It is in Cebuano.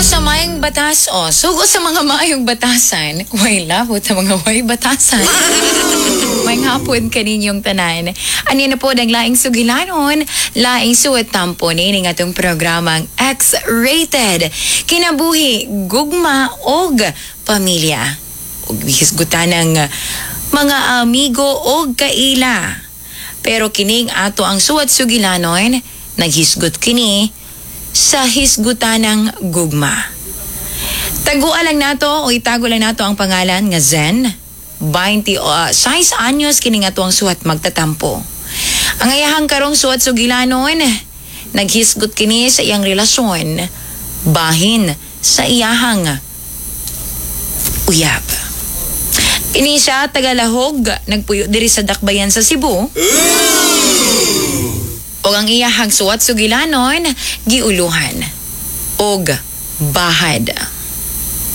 Sa maayong batas o sugo sa mga maayong batasan, way labot sa mga way batasan. May hapon kaninyong tanan. Ani na po ang laing sugilanon, laing suwat tampo ni atong programang X-Rated. Kinabuhi, gugma og pamilya. Og hisgutan ng mga amigo og kaila. Pero kining ato ang suwat sugilanon, naghisgot kini sa hisgutan ng gugma. Tagua lang nato o itago lang nato ang pangalan nga Zen. 26 anyos kini nga tuang suwat magtatampo. Ang ayahang karong suwat sugilanon, naghisgot kini sa iyang relasyon, bahin sa iyahang uyab. Kini siya tagalahog, nagpuyo diri sa Dakbayan sa Cebu. Og ang iyahang suwat sugilanon, giuluhan og bahad.